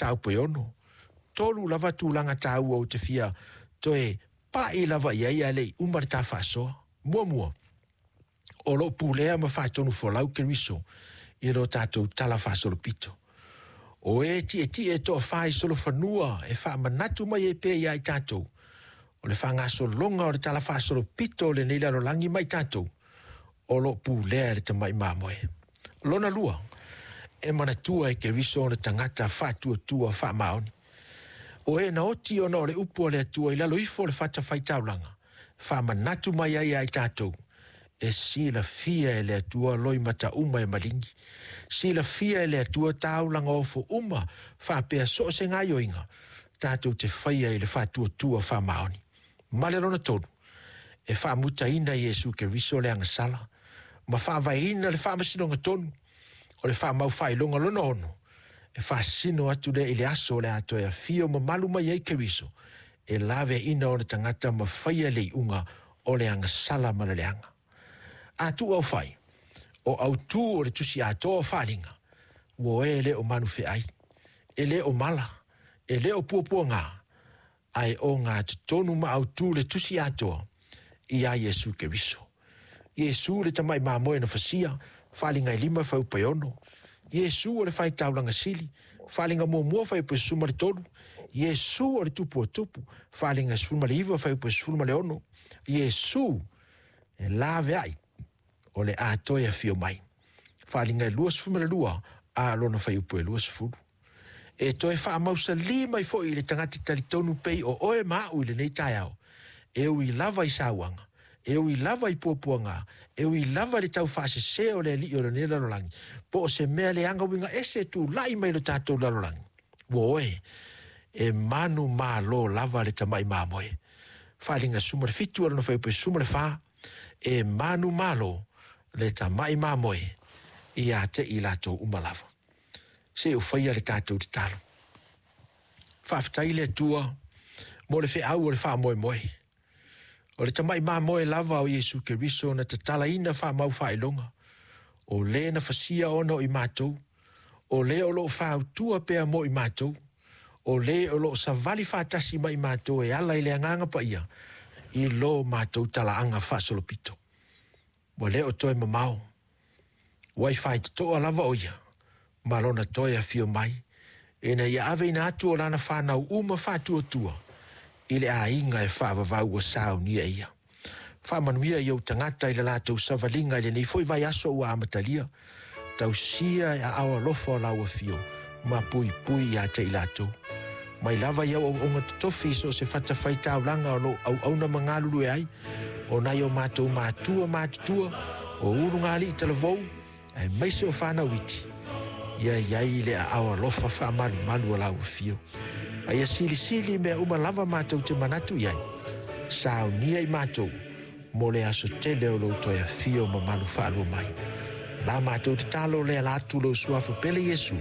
mataupu e 6. 3 lava tulaga taua ou te fia toe pa'i lava i ai ae le i uma le ta faasoa. Muamua, o loo pulea ma faatonu folau Keriso i lo tatou tala faasolopito. O e tietie toafā i solofanua e faamanatu mai ai pea ia i tatou o le faagasologa o le tala faasolopito o lenei lalolagi ma i tatou o loo pulea e le tamai mamoe. Lona lua, e manatua e Keriso ona tagata faatuatua faamaoni. O e na oti ona o le upu a le Atua i lalo ifo o le fatafaitaulaga, faamanatu mai ai ia i tatou, e silafia e le Atua loimata uma e maligi. Silafia e le Atua taulaga ofo uma faapea so o se gaoioiga tatou te faia i le faatuatua faamaoni. Ma le lona tolu, e faamutaina Iesu Keriso le agasala ma faavaeina le faamasinoga tonu o le faamaufaailoga lona 6, e faasino atu lea i le aso o le a toe afio mamalu mai ai Keriso, e laveaina ona tagata ma faia le iuga o le agasala ma le leaga. A tuu au fai, o autū o le tusi atoa o Faaaliga, ua e le o manufeai, e le o mala, e le o puapuaga, ae o gatotonu ma autū le tusi atoa ia Iesu Keriso. Iesu le tamai mamoe na fasia, Faaaliga e 5 fuaiupu e 6. Iesu o le faitaulaga sili, Faaaliga 1 fuaiupu e 13. Iesu o le tupu o tupu, Faaaliga 19 fuaiupu e 16. Iesu e laveai o le a toe afio mai, Faaaliga e 22 a lona fuaiupu e 20. E toe faamausalī mai foi i le tagata talitonu pei o oe ma a'u i lenei taeao, e ui lava i sauaga, e ui lava i puapuaga, e ui lava i le taufaasese o le alii o lenei lalolagi, po o se mea leaga uiga ese e tula'i mai lo tatou lalolagi, ua oe e manu malo lava le tamai mamoe. Faaaliga 17 lona fuaiupu e 14, e manu malo le tamai mamoe ia te i latou uma lava. Se i ou faia le tatou tatalo. Faafetai le Atua mo le feau o le faamoemoe. O le tamai mamoe lava o Iesu Keriso na tatalaina faamaufaailoga, o lē na fasia ona o i matou, o lē o loo fautua pea mo i matou, o lē o loo savali faatasi ma i matou e ala i le agaga paia i lo matou talaaga faasolopito. Ua le o toe mamao, ua i faitotoa lava o ia ma lona toe afio mai, ina ia aveina atu o lana whanau uma faatuatua i le aiga e faavavau ua saunia e ia. Faamanuia i ou tagata i le latou savaliga i lenei foi vaiaso ua amatalia, tausia e aao alofa o lau afio ma puipui ia te i latou. Mai lava i au auaunga totofi i so o se fatafaitaulaga o loo auauna ma galulue ai, o nai o matou matua matutua, o ulugalii talavou, aemaise o fanau iti, ia iai le aao alofa faamalumalu o lau afio. A ia silisili mea uma lava matou te manatu i ai, saunia i matou mo le aso tele o lou toe afio mamalu faalua mai. La matou tatalo lea la atu lou suafa pele Iesu,